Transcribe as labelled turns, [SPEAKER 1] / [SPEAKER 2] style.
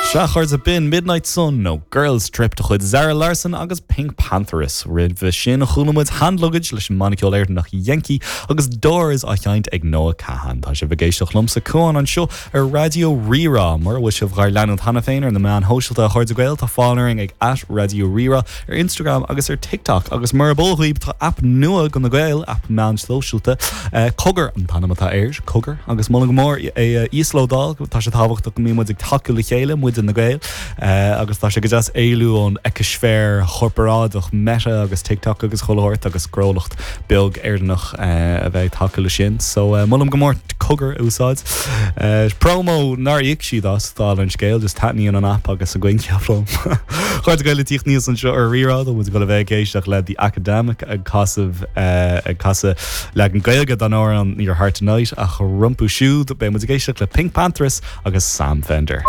[SPEAKER 1] Sea, a chairde, b'in Midnight Sun nó Girls Trip de chuid Zara Larsson agus PinkPantheress. Roimhe sin, chuala muid Hand Luggage leis an mbanna ceoil Éireannach Yenkee agus Doors á sheinnt ag Noah Kahan. Tá sibh ag éisteacht liomsa, Cuán, anseo ar Raidió Rí-Rá. Mura bhfuil sibh dhár leanúint cheana féin ar na meáin shóisialta, a chairde Gael, tá fáil orainn ag at Raidió Rí-Rá ar Instagram agus ar TikTok. Agus murab eol dhaoibh, tá aip nua do na Gaeil, aip meán sóisialta, Cogar an t-ainm atá air, Cogar, agus molaim go mór é a íoslódáil. Tá sé tábhachtach go mbíonn muid ag tacú le chéile, muide na Gaeil, agus tá sé go deas éalú ón eicisféar chorparáideach Meta agus TikTok agus chuile shórt agus gnólacht beag Éireannach a bheith ag tacú le sin. So molaim go mór Cogar a úsáid. Promo nár íoc siad as, dála an scéil, just taitníonn an aip agus a gcoincheap liom. A chairde Gael ag tíocht aníos anseo ar Rí-Rá, tá muid ag dul a bheith ag éisteacht le The Academic ag casadh ag casadh leagan Gaeilge den amhrán Your Heart Tonight ach rompu siúd beidh muid ag éisteacht le PinkPantheress agus Sam Fender.